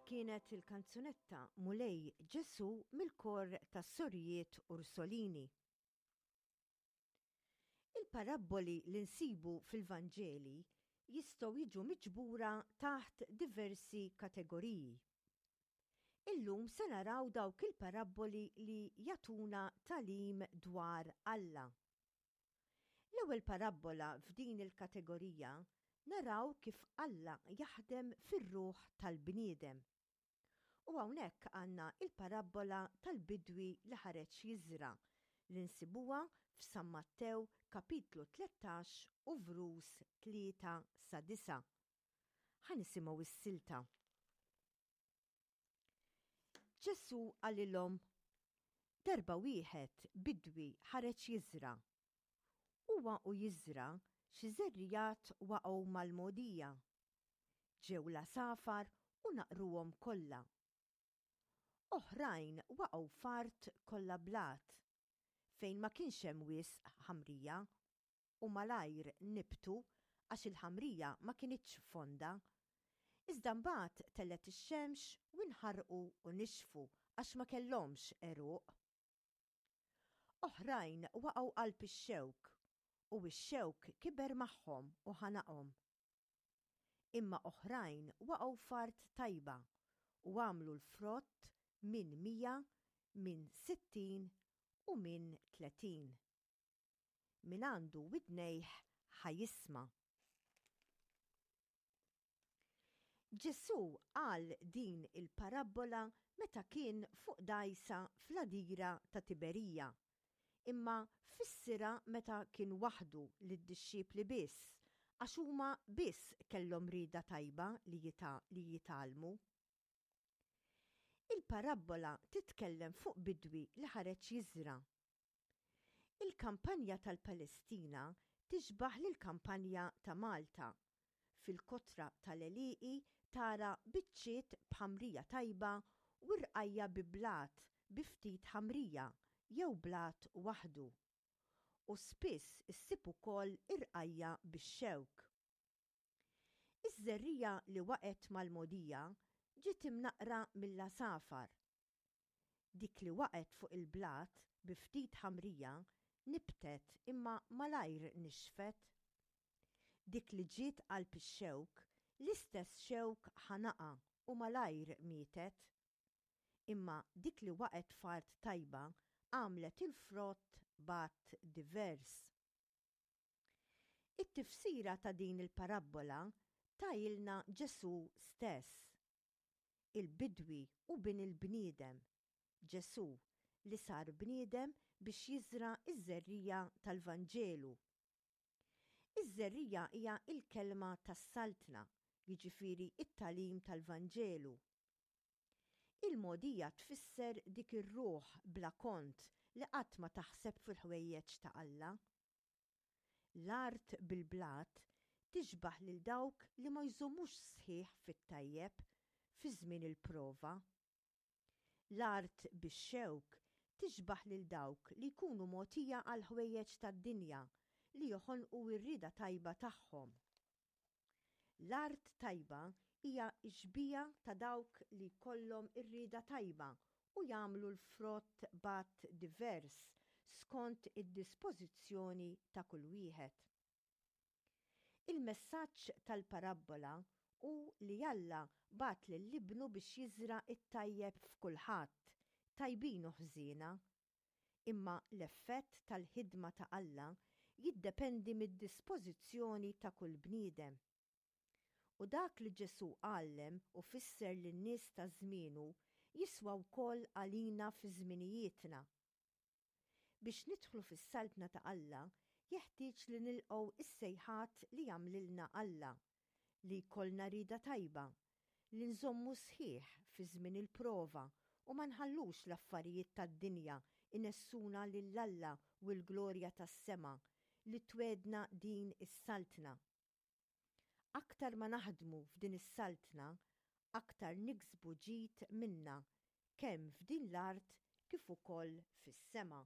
Dik kienet il-kanzunetta Mulej Ġesu mill-kor tas-Sorijiet Ursolini. Il-parabboli li nsibu fil-Vanġeli jistgħu jiġu miġbura taħt diversi kategoriji. Illum se naraw dawk il-parabboli li jagħtuna tagħlim dwar Alla. L-ewwel parabbola f'din il-kategorija naraw kif Alla jaħdem fir-ruħ tal-bniedem. U hawnhekk għandna il-parabbola tal-bidwi li ħareġ jiżra' li nsibuha f'San Mattew kapitlu 13 u vrus 3 sa 9. Ħa nisimgħu s-silta. Ġesù qalilhom, Darba wieħed bidwi ħareġ jiżra'. Huwa u jiżra' xi żerrigħat waqgħu mal-mogħdija. Ġew l-għasafar u naqruhom kollha. Oħrajn waqgħu f'art kollha blat, fejn ma kienx hemm wisq ħamrija u malajr nibtu għax il-ħamrija ma kinitx fonda. Iżda mbagħad telgħet ix-xemx u nħarqu u nixfu għax ma kellhomx għeruq. Oħrajn waqgħu qalb ix-xewk u x-xewk kiber magħhom u ħanaqhom. Imma oħrajn waqgħu f'art tajba u għamlu l-frott min 100, min 60 u min 30. Min għandu widnejh ħa jisma'. Ġesù qal din il-parabbola meta kien fuq dgħajsa fl-għadira ta' Tiberija, imma fissirha meta kien waħdu lid-dixxipli biss għax huma biss kellhom rieda tajba li jitgħallmu. Il-parabbola titkellem fuq bidwi li ħareġ jiżra'. Il-kampanja tal-Palestina tixbah lill-kampanja ta' Malta. Fil-kotra tal-għelieqi tara biċċiet b'ħamrija tajba u rqajja' bi blat bi ftit ħamrija jew blat waħdu. U spiss issib ukoll irqajja' bix-xewk. Iż-żerriegħa li waqgħet mal-mogħdija ġiet imnaqqra mill-għasafar. Dik li waqgħet fuq il-blat bi ftit ħamrija nibtet imma malajr nixfet. Dik li ġiet qalb ix-xewk, l-istess xewk ħanaqha u malajr mietet. Imma dik li waqgħet f'art tajba għamlet il-frott b'għadd divers. It-tifsira ta' din il-parabbola tahilna Ġesù stess. Il-bidwi hu Bin il-bniedem, Ġesù, li sar bniedem biex jiżra' ż-żerriegħa tal-Vanġelu. Iż-żerriegħa hija l-kelma tas-Saltna, jiġifieri t-tagħlim tal-Vanġelu. Il-mogħdija tfisser dik ir-ruħ bla kont li qatt ma taħseb fil-ħwejjeġ ta' Alla. L-art bil-blat tixbah lil dawk li ma jżommux sħiħ fit-tajjeb fi żmien il-prova. L-art bix-xewk tixbah lil dawk li jkunu mogħtija għall-ħwejjeġ tad-dinja li joħonqu r-rieda tajba tagħhom. L-art tajba hija x-xbieha ta' dawk li jkollhom ir-rieda tajba u jagħmlu l-frott b'għadd divers skont id-dispożizzjoni ta' kull wieħed. Il-messaġġ tal-parabbola hu li Alla bagħat lil Ibnu biex jiżra' t-tajjeb f'kulħadd, tajbin u ħżiena. Imma l-effett tal-ħidma ta' Alla jiddependi mid-dispożizzjoni ta' kull bniedem. U dak li Ġesù għallem u fisser lin-nies ta' żmienu jiswa wkoll għalina fi żminijietna. Biex nidħlu fis-Saltna ta' Alla jeħtieġ li nilqgħu s-sejħat li jagħmlilna Alla, li jkollna rieda tajba, li nżommu sħiħ fi żmien il-prova u ma nħallux l-affarijiet tad-dinja jnessuna lil Alla u l-glorja tas-sema li twegħdna din is-Saltna. Aktar ma naħdmu f'din is-Saltna, aktar niksbu ġid minnha, kemm f'din l-art kif ukoll fis-sema.